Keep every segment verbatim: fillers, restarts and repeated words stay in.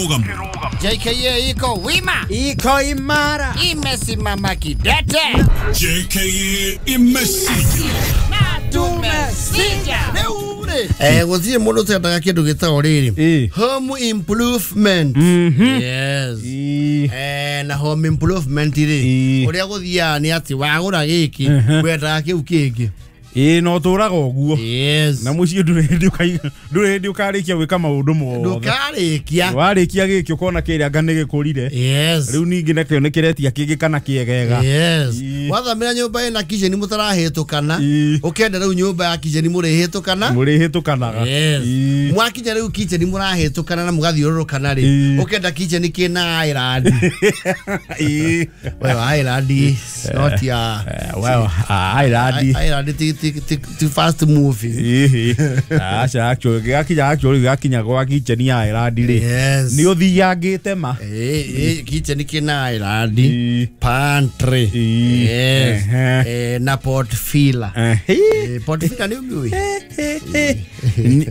J K A iko wima, iko imara, imesimama kidete. J K A imesija na tumesija. Eh, gũtirĩ mũndũ ũtendaga kĩndũ gĩtagwo rĩrĩ home improvement. Yes. Eh, na home improvement rĩ ũrĩa gũthiaga nĩ atĩ wagũra gĩkĩ wendaga kĩu kĩngĩ. Ĩĩ no tũraga ũguo. Yes. Na mũciĩ ndũrĩ hĩndĩ ũkaiga ndũrĩ hĩndĩ ũkarĩkia gwĩka maũndũ mothe. Ndũkarĩkia. Warĩkia gĩkĩ ũkona kĩrĩa anga nĩ gĩkũrire. Yes. Rĩu ningĩ nakĩo nĩ kĩretia kĩngĩ kana kĩegega. Yes. Wathamĩra nyũmba ĩna kitchen mũtarahĩtũkana. Ũkenda rĩu nyũmba ya kitchen mũrĩhĩtũkana. Mũrĩhĩtũkanaga. Yes. Mwakinya rĩu kitchen mũrahĩtũkana na mũgathiũrũrũkana rĩ. Ũkenda kitchen kĩna island. Ĩĩ. Well, island is not ya. Well, island. Island ti fast moving. Aca actually gakinya actually gakinya gwa kitchen ya island rĩ. Yes. Nĩ ũthiangĩte ma. Eh, kitchen kĩna island, pantry. Yes. Eh, na pot filler. Eh, pot filler nĩ ũmĩũĩ?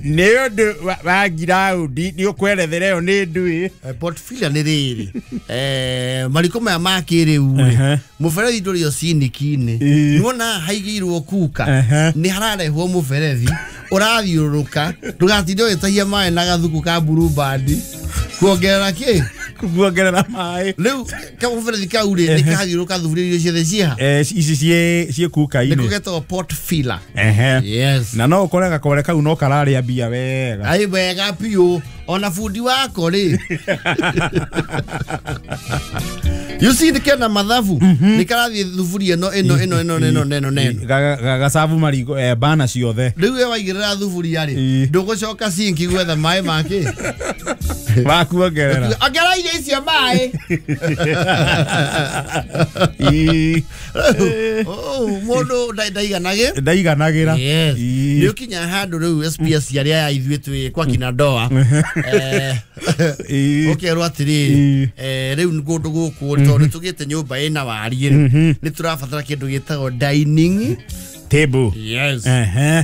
Nĩ ũndũ wa ground nĩ ũkwerethera ĩyo nĩ ndũĩ. Pot filler nĩ rĩrĩ. Eh, mariko maya ma kĩrĩu rĩ. Mũberethi ndũrĩ o siniki-inĩ. Nĩwona haigĩirwo kuka. Nĩ hararehwo mũberethi ũrathiũrũrũka ndũgatinde ũgĩtahia maĩ na gathuku ka Blue Band kuongerera kĩ kuongerera maĩ. Rĩu kamũberethi kau rĩ nĩ karathiũrũrũka thuburia iria ciothe ciĩha ici ciĩ ciĩ kuka-inĩ. Nĩko getagwo pot filler. Yes. Na no ũkore gakore kau no kararĩa mbia wega. Ai wega biũ ona bundi wako rĩ. You see the kena mathabu nĩ karathiĩ thuburia ĩno ĩno ĩno ĩno ĩno ĩno ĩno gagacabu mariko eh, bana ciothe. Rĩu we waigĩrĩra thuburia rĩ ndũgũcoka sinki gwetha maĩ make wakuongerera. Ongerera irio icio maĩ. Mũndũ ndaiganagĩ ndaiganagĩra. Yes. Nĩ ũkinya handũ rĩu S P S arĩa ya ithuĩ twĩ kwa kina ndoa ũkerwo atĩrĩrĩ rĩu kũndũ gũkũ tondũ nĩ tũgĩte nyũmba ĩna wariĩ rĩ nĩ tũrabatara kĩndũ gĩtagwo dining table. Yes.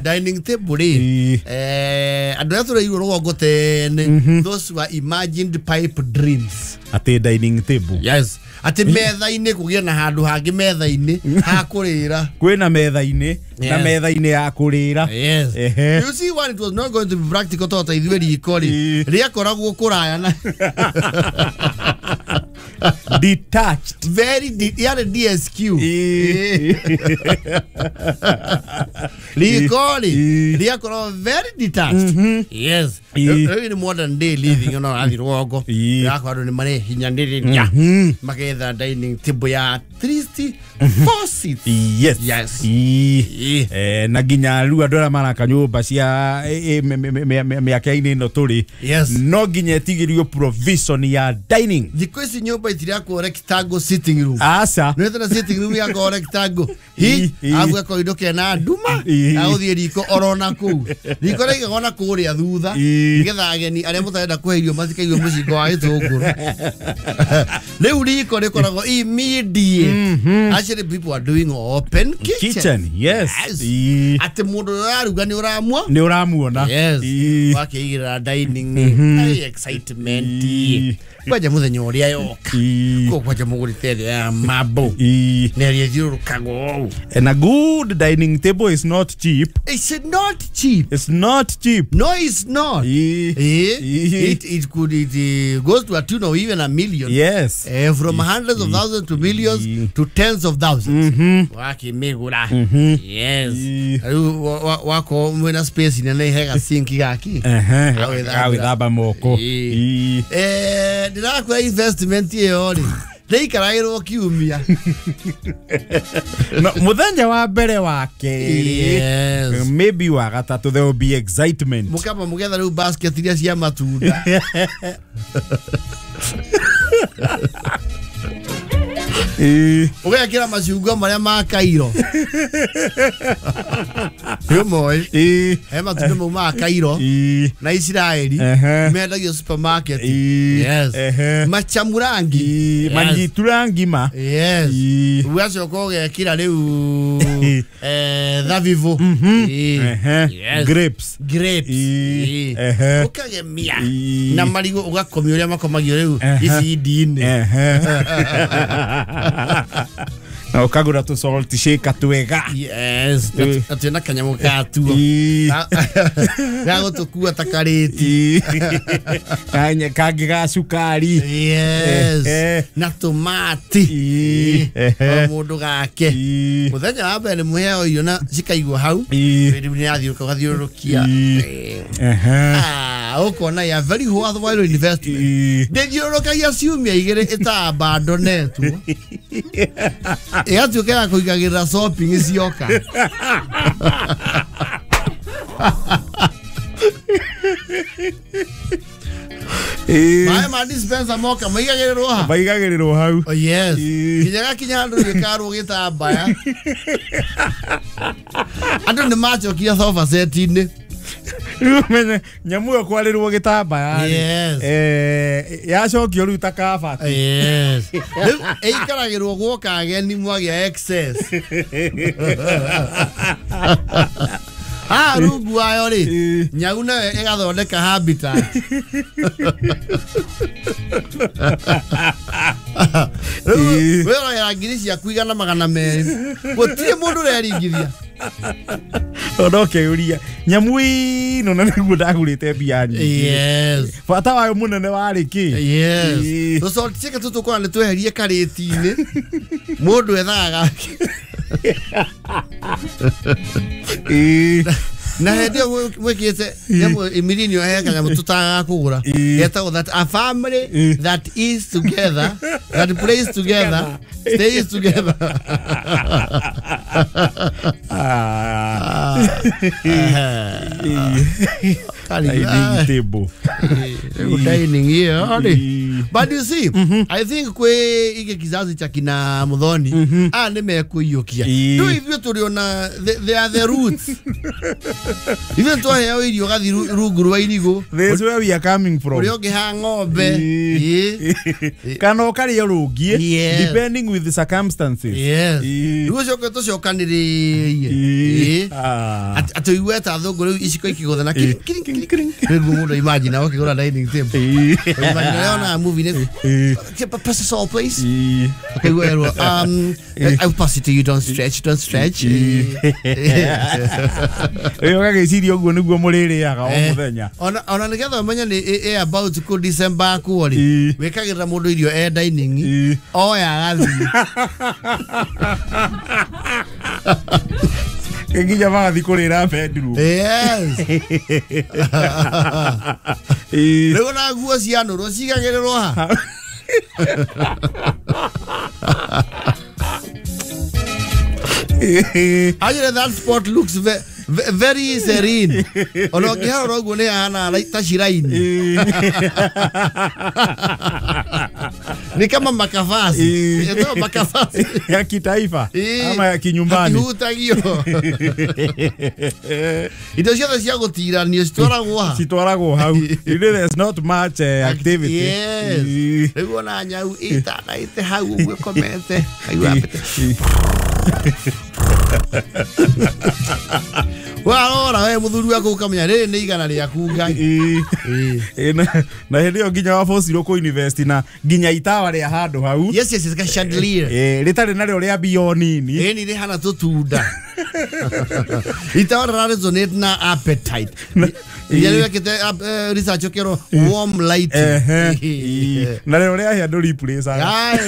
Dining table rĩ eh andũ arĩa tũreirwo rũgongo tene, those were imagined pipe dreams. Atĩ dining table. Yes. Atĩ metha-inĩ kũgĩe na handũ hangĩ metha-inĩ ha kũrĩra. Kwĩna metha-inĩ na metha-inĩ ya kũrĩra. Yes. You see one, it was not going to be practical tondũ ta ithuĩ riko rĩ rĩakoragwo kũraya na detached. Very de yarĩ D S Q. Riko rĩ rĩakoragwo very detached. Yes. Rĩu nĩ modern day living ona ũrathiĩ rũgongo ũrakora andũ nĩ marehinyanĩrĩria magetha dining table ya at least four seats. Yes. Yes. Eh, na nginya rĩu andũ arĩa maraka nyũmba cia mĩaka-inĩ ĩno tũrĩ no nginya ĩtigĩrio provision ya dining. Thikũ ici nyũmba itirakwo rectangle sitting room. Aca. Nĩ wetha sitting room yakwo rectangle. Hi, agu gakoindo kena nduma agũthiĩ riko orona kũu. Riko rĩigagwo na kũrĩa thutha nĩgetha ageni arĩa mũtarenda kũhe irio matikaigwe mũcingo wa gĩtũngũrũ. Rĩu riko rĩkoragwo immediate. Actually people are doing open kitchen. Kitchen, yes. Atĩ mũndũ ũraruga nĩ ũramwo nĩ ũramuona. Yes. Wakĩigĩrĩra dining ai excitement. Kwanja mũthenya ũrĩa yoka. Ko kwanja mũgũrĩte thĩ ya marble. Nĩ ĩrĩthiũrũrũkagwo ũũ. And a good dining table is not cheap. It's not cheap. It's not cheap. No, it's not. Eh? It it could it uh, goes to a tune of even a million. Yes. Uh, from hundreds of thousands to millions to tens of thousands. Wakĩmĩgũra. Yes. Rĩu wako mwĩna space nene hega sink gaki. Agwĩthamba moko. Eh, ndĩrakwĩra investment ĩyo rĩ ndĩikaragĩrwo kiumia. No, mũthenya wa mbere wa kerĩ maybe wa gatatũ there will be excitement. Mũkamba mũgetha rĩu basket iria cia matunda. Ũgekĩra macungwa marĩa ma Cairo. Nĩ ũmoĩ. He matunda mau ma Cairo na Isiraeli mendagio supermarket. Yes. Machamurangi. Manyitura ngima. Yes. Ũgacoka ũgekĩra rĩu eh thabibu. Yes. Grapes. Grapes. Ũkagemia na marigũ ũgakomia ũrĩa makomagio rĩu icindi-inĩ. Na ũkagũra tũ salt shaker twega. Yes. Na twĩna kanyamũ gatuo. Ga gũtũkua ta karĩti. Kanya kangĩ ga cukari. Yes. Na tomati. O mũndũ gake. Mũthenya wa mbere mũheo irio na cikaigwo hau. Rĩu nĩ yathiũrũrũka ũgathiũrũrũkia. Ah, ũkona ya very worthwhile investment. Ndĩthiũrũrũkagia ciumia igĩrĩ ĩta-abandonetwo. Ĩgatuĩka ya kũigagĩrĩra shopping cioka. Maĩ ma dispenser moka maigagĩrĩrwo ha? Maigagĩrĩrwo hau. Oh yes. Nginya gakinya handũ gĩkarwo gĩtambaya. Andũ nĩ macokire sofa set-inĩ. Rĩu menye nyamũ ĩyo kwarĩrwo gĩtambaya. Yes. Eh yacokio rĩu ta kabati. Yes. Rĩu ĩikaragĩrwo gwoka ageni mwagĩa excess. Ah, rungu wayo rĩ nyau nayo ĩgathondeka habitat. Rĩu wĩrorera ngiri ciaku igana magana merĩ. Gũtirĩ mũndũ ũreringithia. Ona ũkeyũria nyamũ ĩno na nĩguo ndagũrĩte mbia nyingĩ. Yes. Bata wayo mũnene warĩ kĩ? Yes. Tũ salt shaker tũtũ tũkoragwo nĩ tweherie karĩti-inĩ. Mũndũ ethaga gake. Na hĩndĩ ĩyo mwĩkĩte nyamũ imirinio he kanyamũ tũtagaga kũgũra. Getagwo that a family that is together, that plays together, stays together. Ah. Dining table. Dining here. But you see, I think kwe ike kizazi cha kina Muthoni ah nĩ mekũiyũkia. Rĩu ithuĩ tũrĩ ona they are the roots. Ithuĩ twaheo irio gathi rungu rwa irigũ. This where we are coming from. Ũrĩa ũngĩ ha ng'ombe. Kana ũkarĩa rũngiĩ depending with the circumstances. Yes. Rĩu ũcoke tũcokanĩrĩrie. Atĩ ũigue ta athũngũ rĩu iciko ikĩgũtha na kiring kiring kiring. Rĩu mũndũ imagine ũkĩgũra dining table. Imagine ũrĩa movie nĩ pass us all please. Okay, well, um I'll pass it to you, don't stretch, don't stretch. Ĩyo gagĩciria ũguo nĩguo mũrĩrĩaga o mũthenya. Ona ona nĩgetha ũmenye nĩ about kũ December kuo rĩ wĩkagĩrĩra mũndũ irio e dining oya agathiĩ. Nginya magathiĩ kũrĩra bedroom. Yes. Rĩu ona nguo cianũrwo cigagĩrĩrwo ha? Actually, that spot looks ve very serene. Ona ũngĩharora ũguo nĩ hahana ta shrine. Ni kama makavazi. Ito makavazi ya kitaifa ama ya kinyumbani. Hakihutagio. Indo ciothe cia gũtiranio citwaragwo ha? Citwaragwo hau. You know there's not much uh, activity. Yes. Rĩu ona nyau ĩtanaĩte hau ũguo ĩkomete. Kaigua ambĩte. Warora we mũthuri waku ũkamenya rĩrĩ nĩ igana rĩaku Ngai. Na hĩndĩ ĩyo nginya wabocirwo kũ invest na nginya itawa rĩa handũ hau. Yes, yes, it's a chandelier. Eh, rĩtarĩ narĩo rĩa mbio nini. Ĩni rĩhana tũtunda. Itawa rĩra resonate na appetite. Iria wekĩte research ũkerwo warm lighting. Na rĩo rĩahĩa ndũ replace. Ai.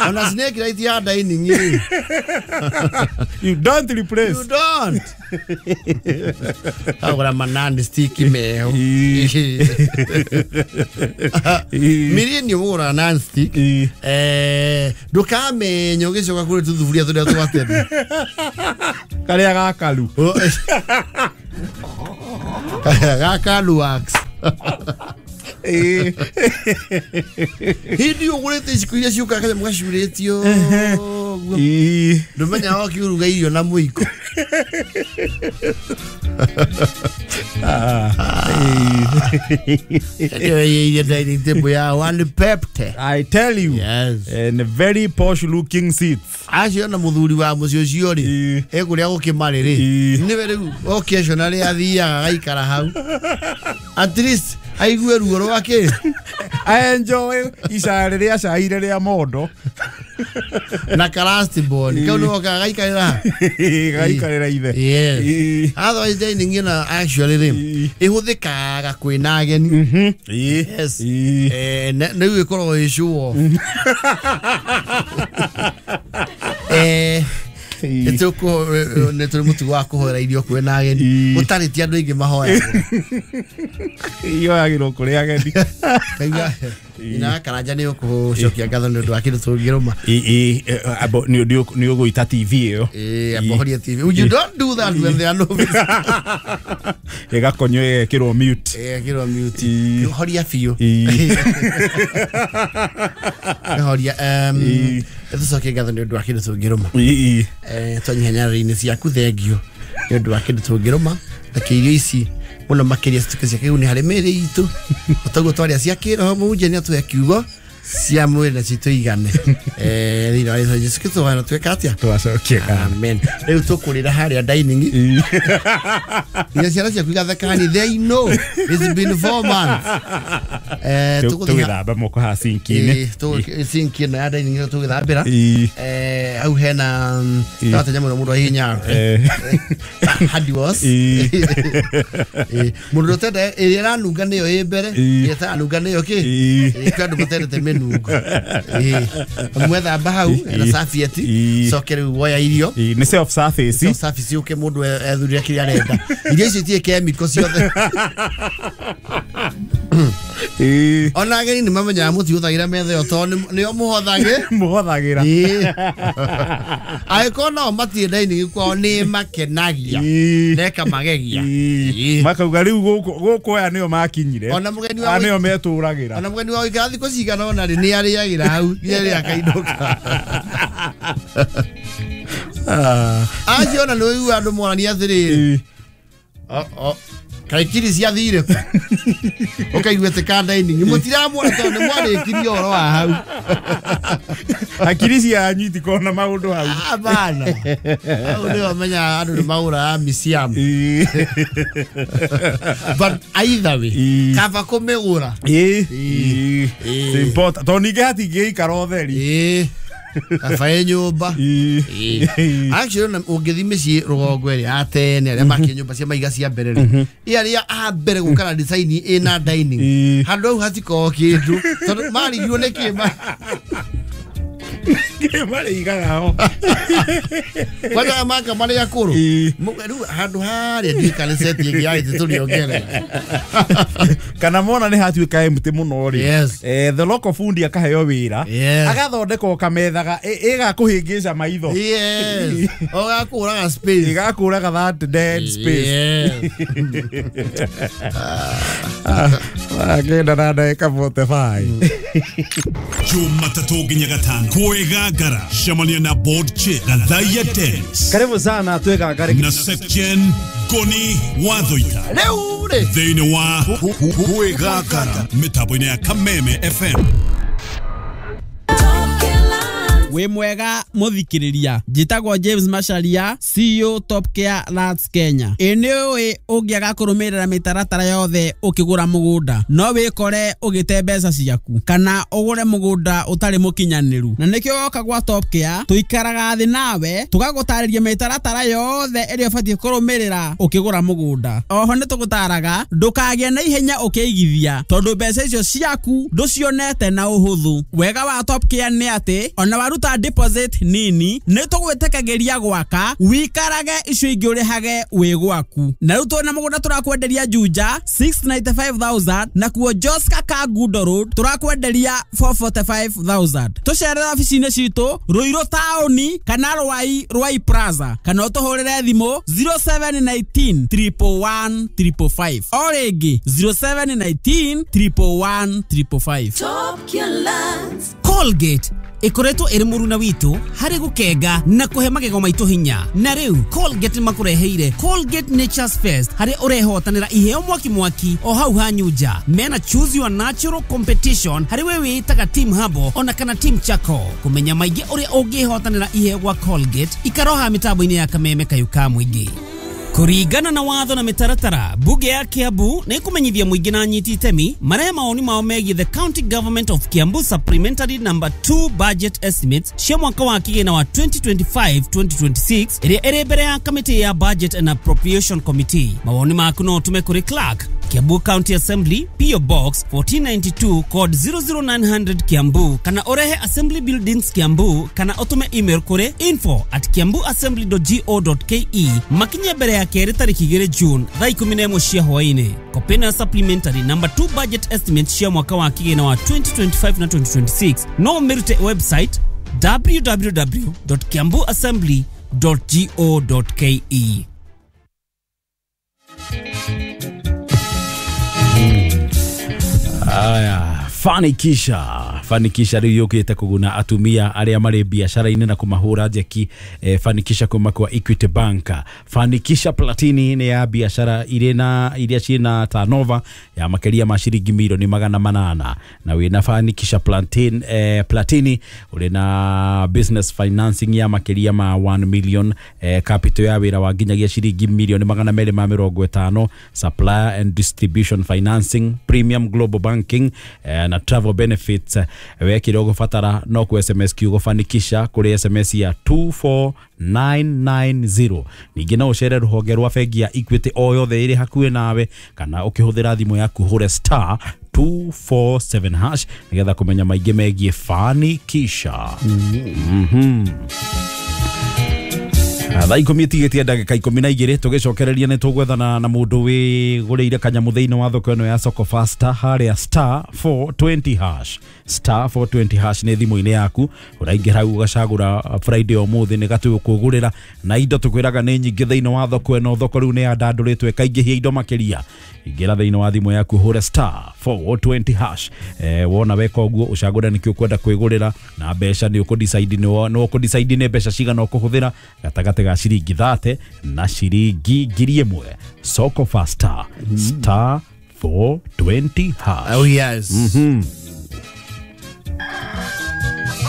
Ona snake light ya dining ĩ. You don't replace. You don't. Agora manani sticky meho. Miri ni wora non stick. Eh, ndukamenye ũgĩcoka kũrĩ tũthuburia tũrĩa twa tene. Karĩa gakaru. Gakaru wax. Hindi ũgũrĩte iciko iria ciũkaga kanyamũ gacurĩtio ũguo. Ndũmenyaga ũkĩruga irio na mũiko. Ĩyo dining table ya one pepte. I tell you. Yes. And very posh looking seats. Acio na mũthuri wa mũciĩ ũcio rĩ, ekũrĩa gũkĩmarĩ rĩ, nĩwe rĩu occasionally athiaga agaikara hau. At least aigue ruo rwake. I enjoy ica rĩrĩa caire rĩa mondo. Na karasti bone. Kau nĩwe okaga gaikarĩra. Gaikarĩra ithe. Yes. Otherwise dining ĩno actually rĩ, ĩhũthĩkaga kwĩna ageni. Yes. Eh, rĩu ĩkoragwo ĩ show off. Eh, nĩtũkũ nĩ tũrĩ mũtugo wa kũhoera irio kwĩna ageni. Gũtarĩ ti andũ aingĩ mahoyaga. Iyoyagĩrwo kũrĩ ageni. Kaigua ina Karanja nĩ ũkũcokia ngatho nĩ ũndũ wa kĩndũ tũngĩrũma. Ĩ ĩ nĩ ũgũita T V ĩyo. Ĩ ambohoria T V. You don't do that when there are no visitors. Ĩgakonywo ĩgekĩrwo mute. Ĩgekĩrwo mute. Horia biũ. Horia um tũcokie ngatho nĩ ũndũ wa kĩndũ tũngĩrũma. Eh twanyiha nyarĩrĩ-inĩ ciaku thengio nĩ ũndũ wa kĩndũ tũngĩrũma. Reke irio ici mũno makĩria cituĩke cia kĩguni harĩ mĩĩrĩ itũ. Otaguo twaria cia kĩroho mũhunjia nĩ atũhe kiugo cia mwĩrĩ na citũigane. Eh thĩinĩ wa Jesũ Jesu Kristo wana tweka atĩa? Twacokia ngatho. Amen. Rĩu tũkũrĩra harĩa dining. Nginya ciana ciaku igatheka ni they know it's been four months. Eh tũgĩthamba moko ha sinki-inĩ. Eh sinki ĩno ya dining ĩno tũgĩthambĩra. Eh hau hena twatenya mũno mũndũ ahihinya. Hadi was. Eh mũndũ ũtenda ĩrĩa ĩranunga nĩyo ĩ mbere, ĩrĩa ĩtaranunga nĩyo kĩ? Ĩrĩa andũ matendete mĩnungo. Eh mwethamba hau ena serviette coke rĩu woya irio. Nĩ self service. Self service ũke mũndũ ethurire kĩrĩa arenda. Irio icio itirĩ chemical ciothe. Ona ageni nĩ mamenyaga mũtihũthagĩra metha ĩyo tondũ nĩo mũhothagĩ mũhothagĩra. Angĩkorwo nao matirĩ dining kwao nĩ makenagia neka magegia. Makauga rĩu gũkũ aya nĩo makinyire. Ona mũgeni wa nĩo metũragĩra. Ona mũgeni wa gũikara thikũ cigana ũna rĩ nĩ arĩagĩra hau nginya rĩrĩa akainũka. Acio ona nĩ ũiguaga andũ morania atĩrĩrĩ, kaikiri ciathire kũ? Ũkaigua atĩ ka dining mũtiramuona tondũ nĩ mwarĩkirie ũhoro wa hau. Hakiri cianyu itikoragwo na maũndũ hau. Hapana. Hau nĩho menyaga andũ nĩ magũraga museum. But either way, kaba kũmĩgũra. Ĩ important tondũ ningĩ hatingĩikara ũtheri. Kaba ĩ nyũmba. Actually ũngĩthiĩ mĩciĩ rũgongo ĩrĩa ya tene arĩa makire nyũmba cia maiga cia mbere rĩ, ĩ arĩa a mbere gũka na design ĩna dining, handũ hau hatikoragwo kĩndũ tondũ marigirwo nĩ kĩ marĩigaga ho. Kwanza maka marĩ akũrũ rĩu handũ harĩa ndiũĩ kana set ĩngĩ ya gĩtĩ tũrĩongerera. Kana mona nĩ hatuĩka empty mũno rĩ, eh the local fundi akaheo wĩra agathondeka kamethaga ĩgakũhĩngĩca maitho. Yes. Ũgakũraga space. Ĩgakũraga that dead space. Yes. Agenda na ndagĩka forty-five. Jumatatũ nginya gatano kwĩgangara cemania na board chair Gathaiya Dennis. Karibu sana twĩgangare na Section Goni Wathoita rĩu rĩ thĩinĩ wa kwĩgangara mĩtambo-inĩ ya Kameme F M. Wĩ mwega mũthikĩrĩria, njĩtagwo James Macharia, C E O Top Care Lands Kenya. Ĩ nĩ ũĩ ũngĩaga kũrũmĩrĩra mĩtaratara yothe ũkĩgũra mũgũnda no wĩkore ũgĩte mbeca ciaku kana ũgũre mũgũnda ũtarĩ mũkinyanĩru, na nĩkĩo woka gwa Top Care tũikaraga thĩ nawe tũgagũtarĩria mĩtaratara yothe ĩrĩa ũbatiĩ kũrũmĩrĩra ũkĩgũra mũgũnda. Oho nĩ tũgũtaraga ndũkagĩe na ihenya ũkĩigithia tondũ mbeca icio ciaku ndũcionete na ũhũthũ. Wega wa Top Care nĩ atĩ ona waruta Ũngĩruta deposit nini nĩ tũgwĩtĩkagĩria gwaka wikarage icio ingĩ ũrĩhage wĩ gwaku. Na rĩu twĩna mũgũnda tũrakwenderia Juja six ninety-five thousand na kuo Joska Kangundo Road tũrakwenderia four forty-five thousand. Tũcerere ofici-inĩ citũ Ruiru taũni kana Rwai Rwai Plaza kana ũtũhũrĩre thimũ zero seven nineteen triple one triple five. O rĩngĩ zero seven nineteen triple one triple five. Top Lands. Colgate ikoretwo ĩrĩ mũruna witũ harĩ gũkenga na kũhe magego maitũ hinya. Na rĩu Colgate makũreheire Colgate Nature's Fest harĩ ũrehotanĩra iheo mwaki mwaki o hau hanyunja. Mena choose your natural competition harĩ we wĩtaga Team Habo ona kana Team Chako. Kũmenya maingĩ ũrĩa ũngĩhotanĩra iheo gwa Colgate ikaroha mĩtambo-inĩ ya Kameme Kayũ ka Mũingĩ. Kũringana na watho na mĩtaratara, bunge ya Kiambu nĩ ĩkũmenyithia mũingĩ na anyiti itemi marehe maoni mao megiĩ the County Government of Kiambu Supplementary Number two Budget Estimates cia mwaka wa kĩgĩna wa twenty twenty-five twenty twenty-six ĩrĩa ĩrĩ mbere ya kamĩtĩ ya Budget and Appropriation Committee. Mawoni maku no ũtũme kũrĩ Clerk, Kiambu County Assembly, P O Box fourteen ninety-two code zero zero nine hundred Kiambu, kana ũrehe Assembly Buildings Kiambu, kana ũtũme email kũrĩ info at kiambu assembly dot go dot ke makinye mbere ya kerĩ tarĩki igĩrĩ June thaa ikũmi na ĩmwe cia hwaĩ-inĩ. Kopena Supplementary Number two Budget Estimates cia mwaka wa kĩgĩna wa twenty twenty-five na twenty twenty-six no ũmĩrute website w w w dot kiambu assembly dot go dot ke. Aya, fanikisha fanikisha rĩu yũkĩte kũguna atumia arĩa marĩ biacara-inĩ na kũmahũra njeki. eh, fanikisha kuma kwa Equity Bank. Fanikisha Platini nĩ ya biacara irĩ na iria ciĩna turnover ya makĩria ma ciringi milioni magana manana, na wĩna Fanikisha Plantain, eh, Platini ũrĩ na business financing ya makĩria ma one million, eh, capital ya wĩra wa nginyagia ciringi milioni magana merĩ ma mĩrongo ĩtano, supplier and distribution financing, premium global banking, eh, na travel benefits. Wekire ũgũbatara no ku S M S kiugo fanikisha kũrĩ S M S ya two four nine nine zero. Ningĩ no ũcere rũhonge rwa bengi ya Equity o yothe ĩrĩ hakuhĩ nawe, kana ũkĩhũthĩra thimũ yaku hũre star two four seven hash nĩgetha kũmenya maingĩ megiĩ fanikisha. Mhm. Thaa ikũmi ĩtigĩtie ndagĩka ikũmi na igĩrĩ tũgĩcokereria nĩ tũgwethana na mũndũ wĩgũrĩire kanyamũ thĩinĩ wa thoko ĩno ya Soko Fasta harĩa star four twenty hash. Star four twenty hash nĩ thimũ-inĩ yaku, ũraingĩra hau ũgacagũra Friday ũmũthĩ nĩ gatũkũgũrĩra na indo tũkwĩraga nĩ nyingĩ thĩinĩ wa thoko ĩno. Thoko rĩu nĩ yandandũrĩtwo ĩkaingĩhia indo makĩria. Ingĩra thĩinĩ wa thimũ yaku hũre star four twenty hash. Eh, wona weka ũguo ũcagũre nĩkĩ ũkwenda kwĩgũrĩra na mbeca nĩ ũkũdecide nĩ ũkũdecide nĩ mbeca cigana ũkũhũthĩra gatagatĩ ga ciringi thate na ciringi ngiri ĩmwe. Soko Fasta star four twenty hash. Oh yes. Mhm.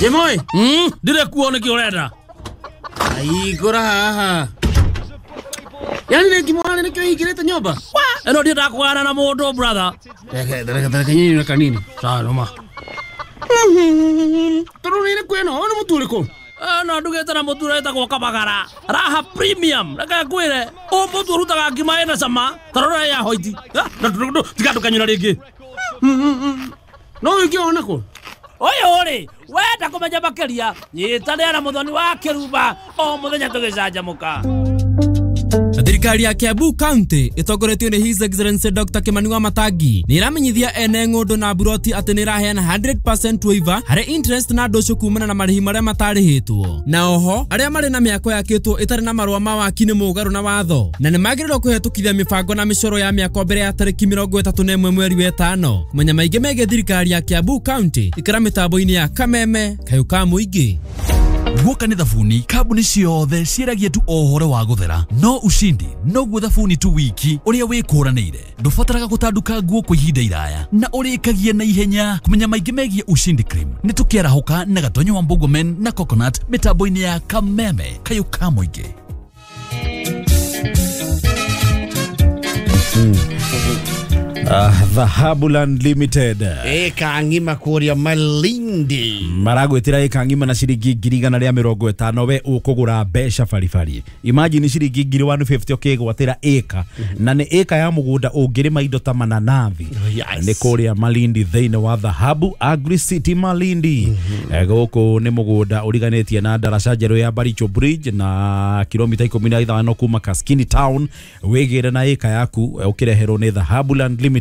Jemoi, mm, ndire kuo nĩkĩ ũrenda? Aigũra haha. Yani nĩ ngimwana nĩkĩo hingĩrĩte nyũmba? Ĩno ndiendaga kũgana na mũndũ brother. Reke reke reke nyinyi na kanini. Sawa noma. Tondũ nĩ kwĩno, nĩ mũtu ũrĩkũ? No ndugĩte na mũtu ũretagwo Kabagara Raha Premium. Reke ngwĩre, ũyũ mũtu ũrutaga ngima ĩna cama ta rora ya hoiti. Tiga ndũkanyũra rĩngĩ. No ũngĩona kũ? Ũyũ rĩ, wenda kũmenya makĩria, nyitanĩra na Mũthoni wa Kĩrumba o mũthenya tũgĩcanjamũka. Thirikari ya Kiambu County ĩtongoretio nĩ His Excellency Doctor Kimani Wamatangi nĩ ĩramenyithia ene ng'ũndũ na buroti atĩ nĩ ĩraheana hundred percent waiver harĩ interest na ndũcũ kumana na marĩhi marĩa matarĩhĩtwo. Na oho arĩa marĩ na mĩako yakĩtwo ĩtarĩ na marũa ma waki nĩ mũgarũ na watho na nĩ magĩrĩirwo kũhetũkithia mĩbango na mĩcoro ya mĩako mbere ya tarĩki mĩrongo ĩtatũ na ĩmwe mweri wa ĩtano. Kũmenya maingĩ megiĩ thirikari ya Kiambu County ikĩra mĩtambo-inĩ ya Kameme Kayũ ka Mũingĩ. Guoka nĩ thabuni kambuni ciothe ciĩragia tu o ũhoro wa gũthera, no ushindi noguo thabuni tu wiki ũrĩa wĩkũranĩire. Ndũbataraga gũtanduka nguo kwa ihinda iraya na ũrĩkagia na ihenya. Kũmenya maingĩ megiĩ Ushindi Cream nĩ tũkĩarahũka na Gatonyo wa Mbogomen na Coconut mĩtambo-inĩ ya Kameme Kayũ ka Mũingĩ. Dhahabu Land Limited ĩka ng'ima kũrĩa Malindi maragwĩtĩra ĩka ng'ima na ciringi ngiri igana rĩa mĩrongo ĩtano we ũkũgũra mbeca baribari. Imagine ciringi ngiri one fifty ũkĩgwatĩra ĩka na nĩ ĩka ya mũgũnda ũngĩrĩma indo ta mananathi. Nĩ kũrĩa Malindi thĩinĩ wa Dhahabu Agri City Malindi. Gũkũ nĩ mũgũnda ũriganĩtie na ndaraca njerũ ya Baricho Bridge na kilomita ikũmi na ithano kuma Kaskini Town. Wĩgĩre na ĩka yaku ũkĩreherwo nĩ Dhahabu Land Limited.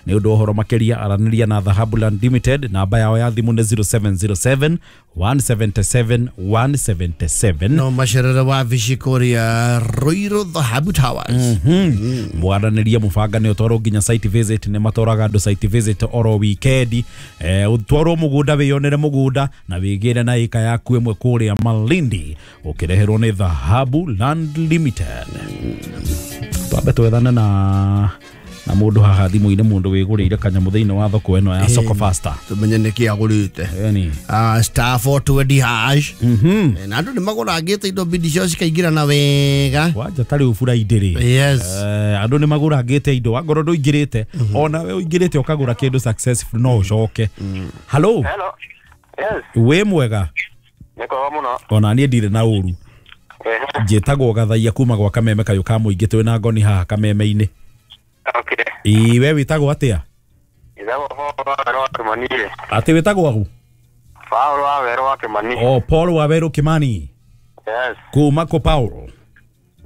Nĩ ũndũ ũhoro makĩria aranĩria na Dhahabu Land Limited, namba yao ya thimũ nĩ zero seven zero seven one seven seven one seven seven. No macerere wa vici kũrĩa Ruiru Dhahabu Towers. Mwaranĩria mũbanga nĩ ũtwarwo nginya site visit, nĩ matwaraga andũ site visit oro weekend. Eh, ũtwarwo mũgũnda wĩyonere mũgũnda na wĩgĩre na ĩka yaku ĩmwe kũrĩa Malindi ũkĩreherwo nĩ Dhahabu Land Limited. Twambe twethane na na mundu haha thimu-inĩ mundu wĩgũrĩire kanyamũ thĩinĩ wa thoko ĩno ya Soko Faster tumenye nĩkĩ agũrĩte. Yani ah star four twenty hash na andũ nĩ magũrangĩte indo bidi cio cikaingĩra na wega wanja ta rĩu Friday rĩ. Yes, andũ nĩ magũrangĩte indo wangorwo ndũingĩrĩte ona we ũingĩrĩte ũkagũra kĩndũ successful no ũcoke. Hello. Hello. Yes. Wĩ mwega? Nĩ kwega mũno. Ona niĩ ndirĩ na ũru. Njĩtagwo Gathaia kuma gwa Kameme kayũ ka mũingĩ twĩ na ngoni haha Kameme-inĩ. Okay. Ĩ we wĩtagwo atĩa? Njĩtagwo Paul wa Werũ wa Kimani. Atĩ wĩtagwo agu? Paul wa Werũ wa Kimani. Oh, Paul wa Werũ Kimani. Yes. Kuma kũ Paul?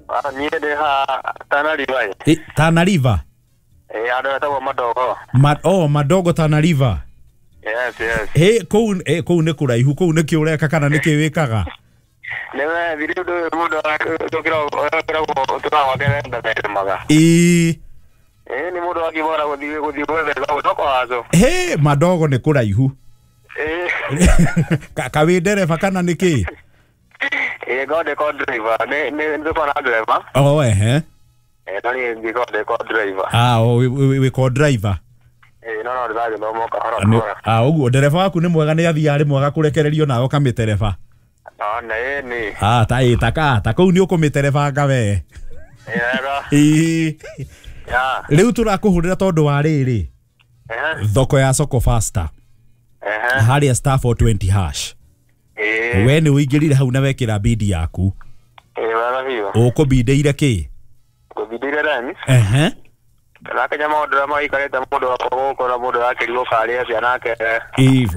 Ah, niĩ ndĩ ha Tana River. Eh, Tana River? Eh, andũ etagwo Madogo. Ma oh, Madogo Tana River. Yes, yes. Hey, kũu eh kũu nĩ kũraihu, kũu nĩ kĩ ũreka kana nĩ kĩ wĩkaga? Nĩ thiri ũndũ mũndũ tũkĩragwo tũrawake Ĩ Eh, ni mundu akibora guthii guthii gwetha gutoko waco. He, Madogo nĩ kũraihu. Eh. Ka wĩ ndereba kana nĩ kĩ? Eh, go de ko driver. Nĩ nĩ ndiko na driver. Oh, ehe. Eh, no ni ndiko de ko driver. Ah, oh, wĩ ko driver. Eh, no no ndirathi no kahora kahora. Ah, ũguo ndereba waku nĩ mwega nĩ athiaga rĩ mwega kũrekererio nawe ũkamĩtereba. Ah, nĩ nĩ. Ah, ta ĩ ta ka ta kũu nĩ ũkũmĩterebanga we. Yega. Ĩ. Yeah. Rĩu tũrakũhũrĩra tondũ wa rĩrĩ thoko ya Soko Faster harĩa star four twenty hash. We nĩ ũingĩrire hau na wekĩra bidi yaku. Ũkũbindĩire kĩ? Ngũbindĩire rani. Ehe. Nakenya maũndũ ũrĩa maikarĩte mũndũ wakwa gũkũ na mũndũ akĩrigwo karĩa atĩa nake. Ĩĩ.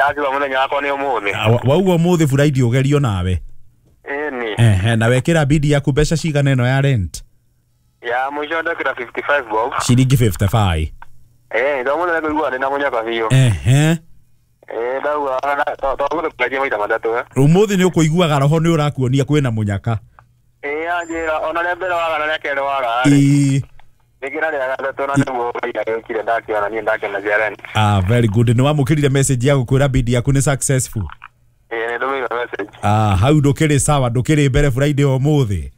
Akiuga mũthenya wakwa nĩ ũmũthĩ. Wauga ũmũthĩ Friday ũgerio nawe. Ĩni. Ehe, na wekĩra bidi yaku mbeca cigana ĩno ya rent? Ya mwisho ndakira fifty-five bob. Ciringi fifty-five. Eh, ndo mũthenya kũigua ndĩ na mũnyaka biũ. Ehe. Eh, ndauga tondũ kũrĩa maita matatũ. Ũmũthĩ nĩ ũkũiguaga roho nĩ ũrakuonia kwĩna mũnyaka. Eh, anjĩra ona rĩa mbere waga na rĩa kerĩ waga. Ĩĩ. Nĩkĩra rĩa gatatũ na nĩguo yũkire ndakiona niĩ ndakena cia rent. Ah, very good. Nĩ wamũkĩrire message ya gũkwĩra bid yaku nĩ successful. Eh, nĩ ndũmĩirwo message. Ah, hau ndũkĩrĩ sawa, ndũkĩrĩ mbere Friday ũmũthĩ.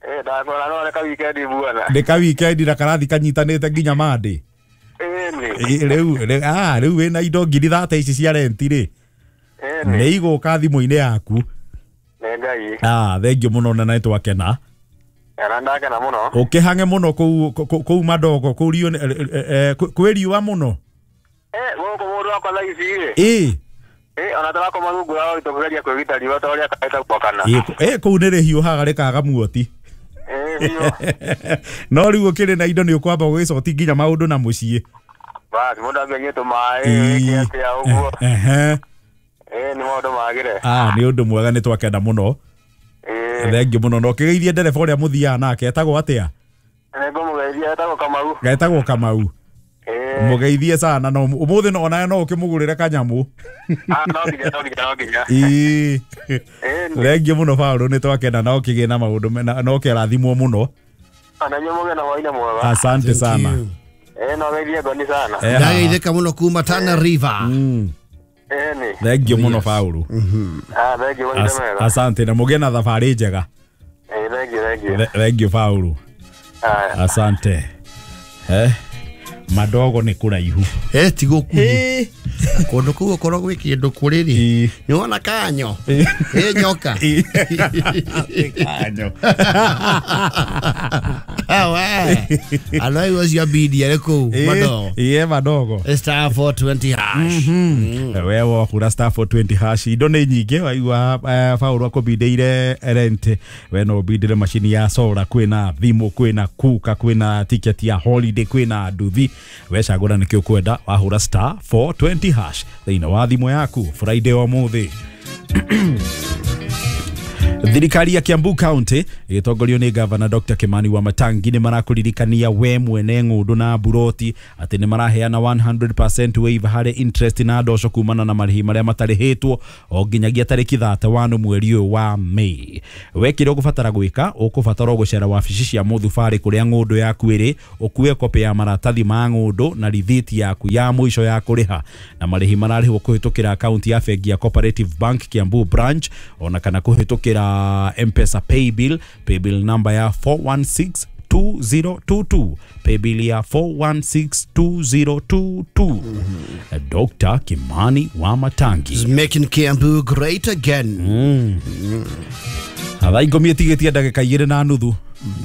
Eh, ndakora no nĩ ka weekend bwana. Nĩ ka weekend na karathi kanyitanĩte nginya Monday. Ĩni. Rĩu ah, rĩu wĩna indo ngiri thate ici cia rent rĩ. Ĩni. Nĩ igũka thimũ-inĩ yaku. Nĩ Ngai. Ah, thank you mũno na nĩ twakena. Era ndakena mũno. Ũkĩhange mũno kũu kũu Madogo kũu rio kwĩ riũa mũno. Eh, gũkũ mũndũ wakwa thaa ici rĩ. Ĩĩ. Eh, ona tũrakoma rungu rwa tũkĩgeria kwĩgita riũa ta ũrĩa kaĩta gwakana. Ĩĩ, kũu nĩ rĩhiũhaga rĩkaga muoti. Eh, no rĩu ũkĩrĩ na indo nĩ ũkwamba gũgĩcoti nginya maũndũ na mũciĩ. Bas, mũndũ ambe tũmaĩ wĩke atĩa ũguo. Ehe. Eh, nĩ maũndũ magĩre. Ah, nĩ ũndũ mwega nĩ twakenda mũno. Thank you mũno. No kĩgeithie ndereba ũrĩa mũthiaga nake etagwo atĩa? Nĩ ngũmũgeithia etagwo Kamau. Etagwo Kamau. Mũgeithie sana no ũmũthĩ no onawe no ũkĩmũgũrĩre kanyamũ. Ah, no nginya no nginya no nginya. Ĩĩ. Thank you mũno Paul, nĩ twakenda na ũkĩgĩe na maũndũ na ũkĩrathimwo mũno. Ona inyuĩ mũgĩe na hwaĩ-inĩ mwega. Asante sana. Eh, no geithie ngoni sana. Ndageithĩka mũno kuma Tana River. Ĩni. Thank you mũno Paul. Ah, thank you mũno mega. Asante na mũgĩe na thabarĩ njega. Eh, thank you, thank you. Thank you Paul. Asante. Eh. Madogo nĩ kũraihu. Eh, ti gũkuhĩ. Kũndũ kũu okorwo gwĩ kĩndũ kũrĩ rĩ nĩ wona kanyo ĩ nyoka kanyo awe andũ acio bidi arĩ kũu madogo iye madogo star four twenty hash we wahura star four twenty hash indo nĩ nyingĩ waigua Paul akũbindĩire rent we no ũbindĩre macini ya solar kwĩna thimũ kwĩna kuka kwĩna ticket ya holiday kwĩna nduthi we cagũra nĩkĩ ũkwenda wahura star four twenty hash thĩinĩ wa thimũ yaku Friday o mũthĩ. Thirikari ya Kiambu County ĩgĩtongorio nĩ Governor Doctor Kimani Wamatangi nĩ marakuririkania we mwene ng'ũndũ na buroti atĩ nĩ maraheana one hundred percent waiver harĩ interest na ndoco kumana na marĩhi marĩa matarĩhĩtwo o nginyagia tarĩki thate wano mweri ũyũ wa May. We kĩrĩa ũgũbatara gwĩka ũkũbatara gũcera wabici cia mũthubarĩ kũrĩa ng'ũndũ yaku ĩrĩ ũkue kopĩ ya maratathi ma ng'ũndũ na rithiti yaku ya mũico ya kũrĩha na marĩhi mararĩhwo kũhĩtũkĩra akaunti ya bengi ya Cooperative Bank Kiambu branch ona kana kũhĩtũkĩra M-Pesa paybill paybill number ya four one six two zero two two paybill ya four one six two zero two two. Mm-hmm. Doctor Kimani Wamatangi is making Kiambu great again. Mm. Mm. Thaa ikũmi ĩtigĩtie ndagĩka igĩrĩ na nuthu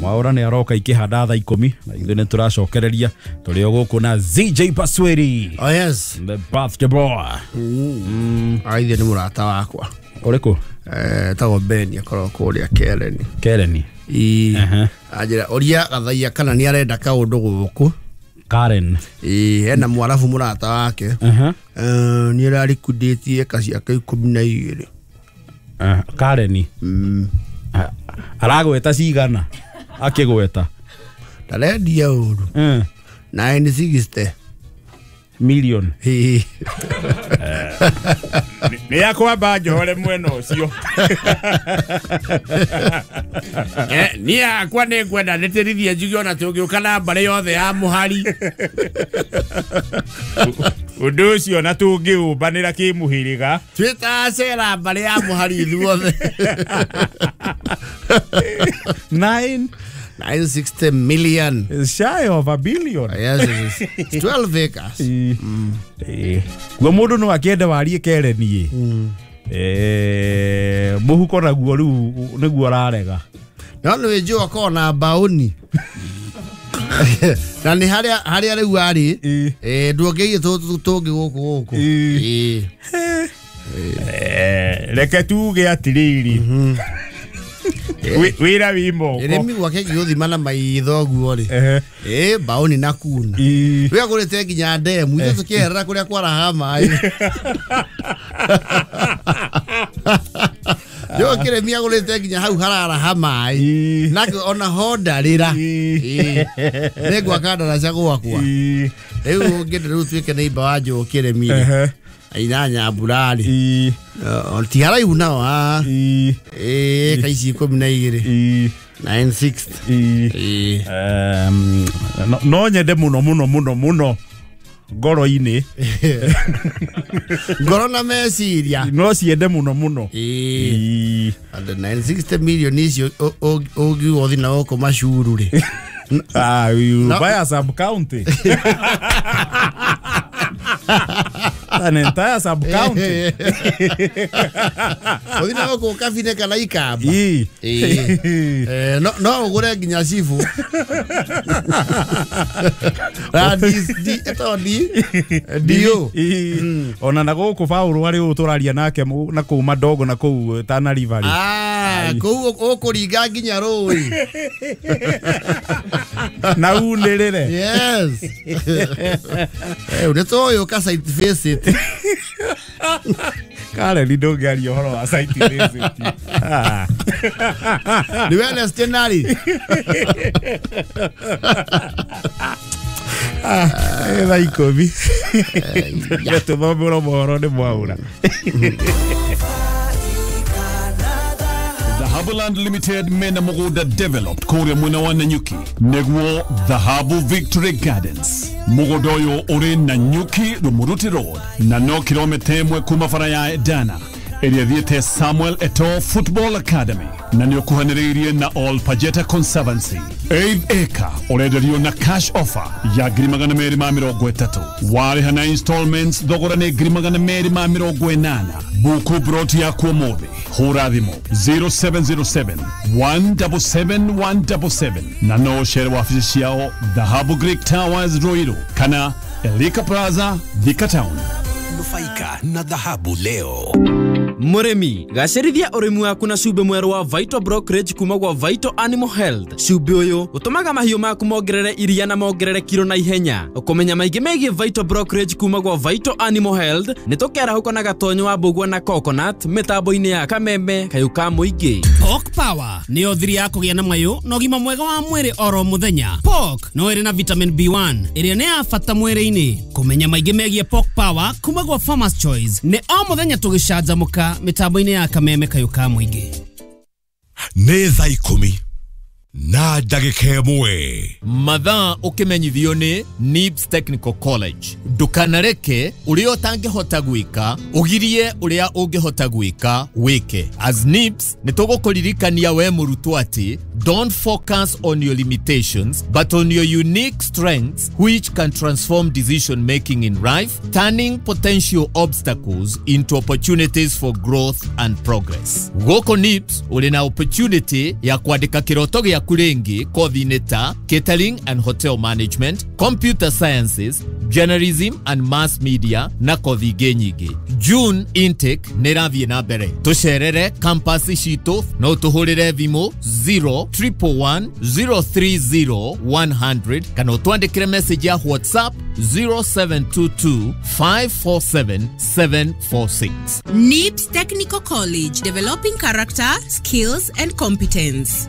Mwaura nĩ aroka ikĩhanda thaa ikũmi na ithuĩ nĩ tũracokereria tũrĩ o gũkũ na Z J Pasweri. Oh yes, the birthday boy. Mm. Aithe nĩ mũrata wakwa ũrĩkũ? Eh, tagwo Ben akorwo kũrĩa Kereni. Kereni. Ii. Anjĩra ũria gathaia kana nĩ arenda kaũndũ gũkũ. Karen. Ii, hena mwarabu mũrata wake. Uh-huh. Eh, nĩ ararikundĩtie eka ciake ikũmi na igĩrĩ. Uh, Kareni. Mm. Aragweta cigana akĩgweta. Ndarendia ũru. Mm. nine sixty million. Nĩ yakwamba njohore mwena ũcio. Niĩ hakwa nĩ ngwenda ndĩtĩrithie njuge ona tũngĩũka na mbarĩ yothe ya mũhari ũndũ ũcio na tũngĩũmbanĩra kĩmũhĩrĩga twĩtacera mbarĩ ya mũhari ithuothe. Nine nine sixty million. It's shy of a billion. Yes, it's twelve acres. Mm. Guo mũndũ no akĩende warie Kereni. Eh, mũhuko naguo rĩu nĩguo ararega. No nĩ njũĩ akorwo na mbaũni. Na nĩ harĩa harĩa rĩu arĩ eh nduongeire tũngĩ gũkũ gũkũ. Eh. Reke tuge atĩrĩrĩ. Wĩra wĩ moko ĩrĩmi gwake gĩgũthima na maitho guo rĩ ĩ mbaũni na kuna wĩ agũrĩte nginya ndemu ithuĩ tũkĩherera kũrĩa kwaraha maĩ yo kĩrĩmi agũrĩte nginya hau hararaha maĩ nake ona ho ndarĩra nĩ ngwaka ndaraca gwakwa rĩu ũngĩenda rĩu tuĩke neighbor wa Njũũ kĩrĩmi rĩ aina nyambura rĩ ti haraihu nao ah ĩ ka ici ikũmi na igĩrĩ nine sixty. No nyende mũno mũno mũno mũno ngoro-inĩ ngoro na meciria no ciende mũno mũno ĩ and nine sixty million icio ũngiuga ũthiĩ na gũkũ macuru rĩ ah you buy a sub county. An entire sub county. Ũthiĩ na gũkũ Kabine kana Ikamba. Eh no no ũgũre nginya cibũ. Ra D eto D D O. Ona na gũkũ Paul arĩ ũũ tũraria nake na kũu Madogo na kũu Tana River. Ah kũu ũkũringa nginya rũĩ. Na unĩrĩre. Yes. Eh nĩ tũĩ ũka site visit. Karen ndũngĩaria ũhoro wa site visit. Ah. Nĩ Wednesday narĩ. Ah, thaa ikũmi. Tũthomere mohoro nĩ Mwaura. Dhahabuland Limited mena mũgũnda developed kũrĩa mwena wa Nanyuki nĩguo Dhahabu Victory Gardens. Mũgũnda ũyũ ũrĩ Nanyuki Rumuruti Road na no kilomita ĩmwe kuma bara ya Edana ĩrĩa ĩthiĩte Samuel Eto'o Football Academy na nĩ ũkuhanĩrĩirie na All Pajeta Conservancy. Eighth acre ũrenderio na cash offer ya ngiri magana merĩ ma mĩrongo ĩtatũ. Warĩha na installments thogora nĩ ngiri magana merĩ ma mĩrongo ĩnana. Buku broti yaku ũmũthĩ. Hũra thimũ zero seven zero seven one double seven one double seven na no ũcere wabici ciao Dhahabu Greek Towers Ruiru kana Elika Plaza Thika Town. Nufaika na dhahabu leo. Mũrĩmi gacĩrithia ũrĩmi waku na cumbĩ mwerũ wa Vital Brokerage kuma gwa Vital Animal Health. Cumbĩ ũyũ ũtũmaga mahiũ maku mongerere iria na mongerere kiro na ihenya. Ũkũmenya maingĩ megiĩ Vital Brokerage kuma gwa Vital Animal Health nĩ tũkerahũka na gatonyo wa mbũgua na coconut mĩtambo-inĩ ya kameme kayũ ka mũingĩ. Pork Power nĩyo thiri ya kũgĩa na mayũ na ũgima mwega wa mwĩrĩ oro mũthenya. Pork no ĩrĩ na vitamin B one ĩrĩa nĩ ya bata mwĩrĩ-inĩ. Kũmenya maingĩ megiĩ Pork Power kuma gwa Farmers Choice nĩ o mũthenya tũgĩcanjamũka mitambo-inĩ ya kameme kayũ ka mũingĩ. Nĩ thaa ikũmi na ndagĩka ĩmwe. Mathaa ũkĩmenyithio nĩ Nibs Technical College. Ndũkanareke ũrĩa ũtangĩhota gwĩka ũgirie ũrĩa ũngĩhota gwĩka wĩke. As Nibs nĩ tũgũkũririkania we mũrutwo atĩ don't focus on your limitations but on your unique strengths which can transform decision making in life, turning potential obstacles into opportunities for growth and progress. Gũkũ Nibs ũrĩ na opportunity ya kwandĩka kĩroto gĩaku rĩngĩ kothi-inĩ ta catering and hotel management, computer sciences, journalism and mass media na kothi ingĩ nyingĩ. June intake nĩ ĩrathiĩ na mbere. Tũcerere campus citũ no tũhũrĩre thimũ zero triple one zero three zero one hundred kana ũtwandĩkĩre message ya WhatsApp zero seven two two five four seven seven four six. Nibs Technical College, developing character, skills and competence.